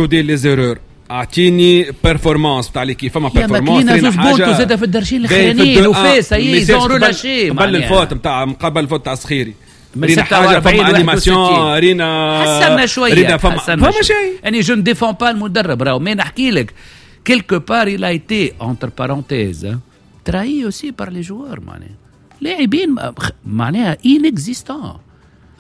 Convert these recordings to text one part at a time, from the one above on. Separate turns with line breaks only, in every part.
les erreurs، اعطيني performance تاع l'équipe، فما performance.
رينا حاجة زاد في الدرجين الاخرانيين وفي ça y est ils ont relâché.
قبل ال faute نتاع، قبل ال faute تاع الصخيري رينا حاجه، فما animation، رينا
حسنا شويه.
رينا فما شيء.
يعني je ne défends pas المدرب راهو، mais نحكي لك quelque part il a été entre parenthèses trahi aussi par les joueurs، معناها لاعبين معناها inexistants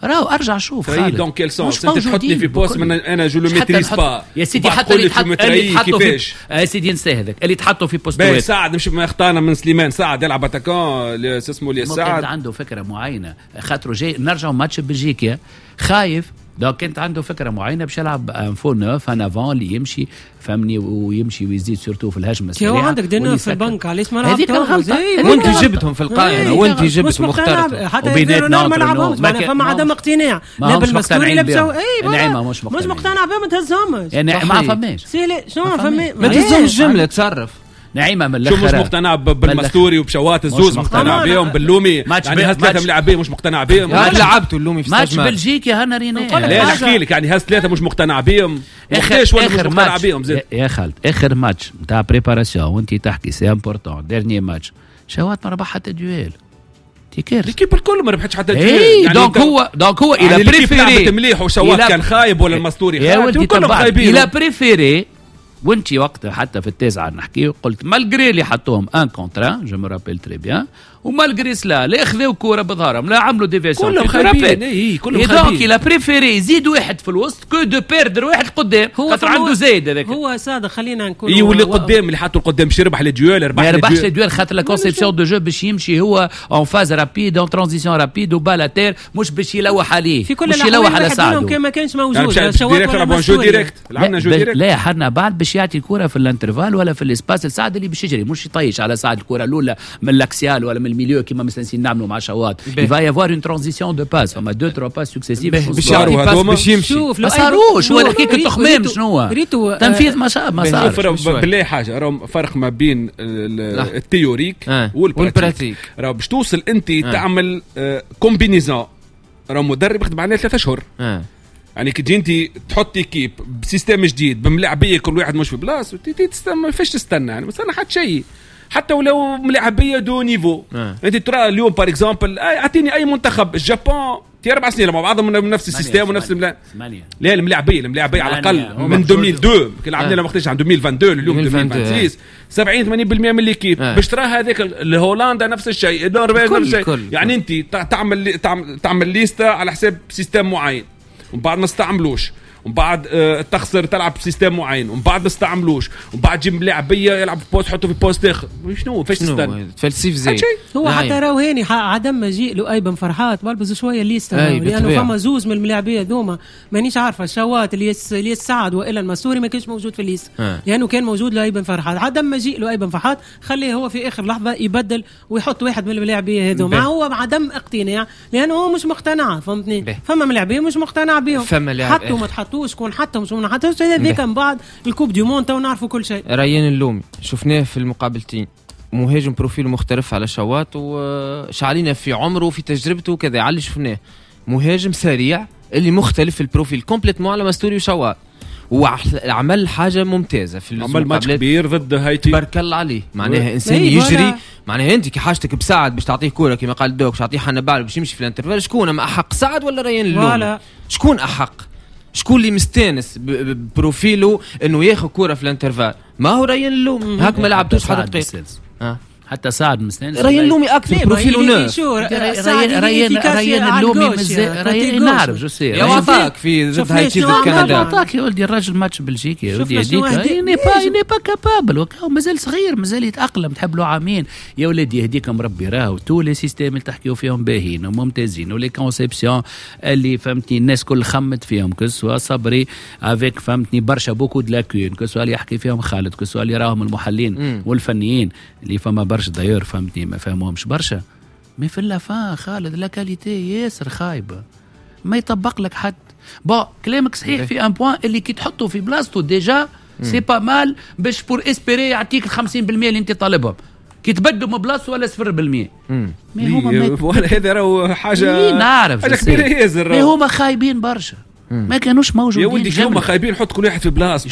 راهو. ارجع شوف.
خالد، dans quel sens؟ انت تحطني في poste من انا je le maîtrise pas.
يا سيدي، حتى اللي تحطوا في، يا سيدي انسى هذاك، اللي تحطوا في poste.
باهي، سعد مش ما اختارنا من سليمان، سعد يلعب attaquant، اسمه اللي
سعد عنده فكرة معينه، خاطر جاي نرجعوا ماتش بلجيكا خايف، donc كانت عنده فكرة معينة باش يلعب un faux neuf، un avant اللي يمشي، فهمني، ويمشي ويزيد surtout في الهجمة
السريعه. هو عندك des neufs في البنك، علاش ما
هذيك الغلطه.
وانت جبتهم في القائمه، وانت جبتهم واخترتهم.
حتى وبيناتنا ما لعبهمش، فما عدم اقتناع لا بالمستوري لا بسو
اي نعيمه مش
مقتنع، مش مقتنع بهم، ما تهزهمش.
يعني ما فماش.
شنو ما فماش؟
ما تهزهمش جمله، تصرف.
نعيمه من
الاخر. شو مش مقتنع بالمستوري وبشوات؟ الزوز مقتنع بهم، باللومي، يعني هز ثلاثة ملاعبين مش مقتنع بهم.
لعبتوا اللومي في
ماتش بلجيكا هنا رينا.
لا، نحكي لك يعني هز ثلاثة مش مقتنع بهم.
اخر اخر ماتش بهم زيد. يا خالد، اخر ماتش نتاع préparation وانت تحكي c'est important، dernier match شوات ما ربح حتى duel.
تي l'équipe الكل ما ربحتش حتى
duel. يعني donc هو donc هو il a préféré
مليح وشوات كان خايب ولا المستوري
خايب، كلهم خايبين. il a préféré، وانت وقتها حتى في التاسعة نحكي، قلت malgré اللي حطوهم un contre un، je me rappelle très bien، و malgré cela لا خذاو كورة بظهرهم لا عملوا déviation.
كلهم خايبين، اي كلهم
خايبين. donc il a préféré يزيد واحد في الوسط que de perdre واحد قدام، هو خاطر عنده زايد هذاك.
هو صادق، خلينا نكون
اي، واللي قدام، اللي حطوا القدام باش يربح les duels؟
ربح؟ ما يربحش les duels، خاطر la conception de jeu باش يمشي هو en phase rapide، en transition rapide و balle à terre، مش باش يلوح عليه.
في كل
مش يلوح على سعدو.
كان ما كانش موجود.
يعني direct jeu direct، لعبنا jeu direct.
لا، حنا بعد باش يعطي الكره في l'intervalle ولا في l'espace لسعد اللي باش يجري، مش يطيش على سعد الكره الاولى من l'axial ولا من ال milieu كيما مستانسين نعملوا مع شوات. il va y avoir une transition de passes، فما deux trois passes successives.
باش يعطي passe باش يمشي.
شوف، ما صاروش. هو نحكيك التخمام شنو
ريتو.
تنفيذ ما صار.
بالله حاجه، راهو فرق ما بين ال théorique وال pratique. راهو باش توصل انت تعمل combinaison، راهو مدرب يخدم عليها 3 اشهر. يعني كي تجي انت تحط équipe ب système جديد بملاعبيه كل واحد مش في بلاصة، ما فيش تستنى، يعني ما تستنى حتى شيء، حتى ولو ملاعبيه de niveau. انت ترى اليوم par exemple، اعطيني اي منتخب، الجابون تي 4 سنين مع بعضهم من نفس ال système ونفس لا، الملاعبيه على الاقل من 2002 كي لعبنا لما وقتاش، عن 2022 اليوم 2026، 70 80% من l'équipe. باش ترى هذاك الهولندا نفس الشيء، النرويج نفس الشيء. يعني انت تعمل liste على حساب système معين ومن بعد ما استعملوش، ومن بعد تخسر، تلعب ب système معين ومن بعد ما استعملوش، ومن بعد تجيب لاعبيه يلعب في poste حطه في poste اخر. شنو فاش تستنى؟
تفلسيف زي
هو حتى راهو هاني عدم مجيء لؤي بن فرحات بلبز شوية liste، لانه فما زوز من الملاعبيه ذوما، مانيش عارفه شوات اللي سعد والا المسوري، ما كانش موجود في ال liste لانه كان موجود لؤي بن فرحات. عدم مجيء لؤي بن فرحات خليه هو في اخر لحظة يبدل ويحط واحد من الملاعبيه هذوما. هو عدم اقتناع لانه هو مش مقتنع، فهمتني؟ فما ملاعبيه مش مقتنع بهم.
فما
حطوا ما تحطوش، شكون حطهم شكون ما حطوش، هذاك من بعد ال coupe du monde تو نعرفوا كل شيء.
ريان اللومي شفناه في المقابلتين، مهاجم profil مختلف على شواط وشعلينا في عمره وفي تجربته وكذا، على اللي شفناه مهاجم سريع اللي مختلف في ال profil complètement على مستوري وشواط، وعمل حاجة ممتازة في
عمل ماتش كبير ضد هايتي.
تبارك الله عليه، معناها انسان يجري. معناها انت كي حاجتك بسعد باش تعطيه كورة كما قال دوك، تعطيه حنبعل باش يمشي في l'intervalle، شكون ما احق، سعد ولا ريان اللومي؟ شكون احق؟ شكون اللي مستانس ب profil و انه ياخذ كورة في l'intervalle؟ ما هو ريان اللومي؟ هاك ما لعبتوش حتى دقيقه.
حتى سعد مستانس.
ريان اللومي اكثر profil و neuf.
ريان اللومي مازال، ريان نعرف je sais.
يا عطاك في ضد هايتي، ضد كندا.
عطاك يا ولدي الراجل ماتش بلجيكا، يا ولدي هذيك n'est pas capable، مازال صغير، مازال يتاقلم، تحب له عامين. يا ولدي يهديكم ربي، راهو tous les systèmes اللي تحكيو فيهم باهيين وممتازين و les conceptions اللي فهمتني الناس كل خمت فيهم، que ce soit صبري avec فهمتني برشا beaucoup de lacunes، que ce soit اللي يحكي فيهم خالد، que ce soit اللي راهم المحللين والفنيين اللي فما برشا d'ailleurs فهمتني ما فهموهمش برشا، mais في la fin خالد la qualité ياسر خايبه، ما يطبق لك حد. bon، كلامك صحيح في un point اللي كي تحطه في بلاصتو déjà c'est pas mal باش pour espérer يعطيك ال 50% اللي انت طالبهم. كي تبدلوا من بلاصته ولا 0%.
mais هما ولا هذا راهو حاجه
نعرف
حاجة كبيرة ياسر.
mais هما خايبين برشا. ما كانوش موجودين.
يا ولدي هما خايبين، حط كل واحد في بلاصته.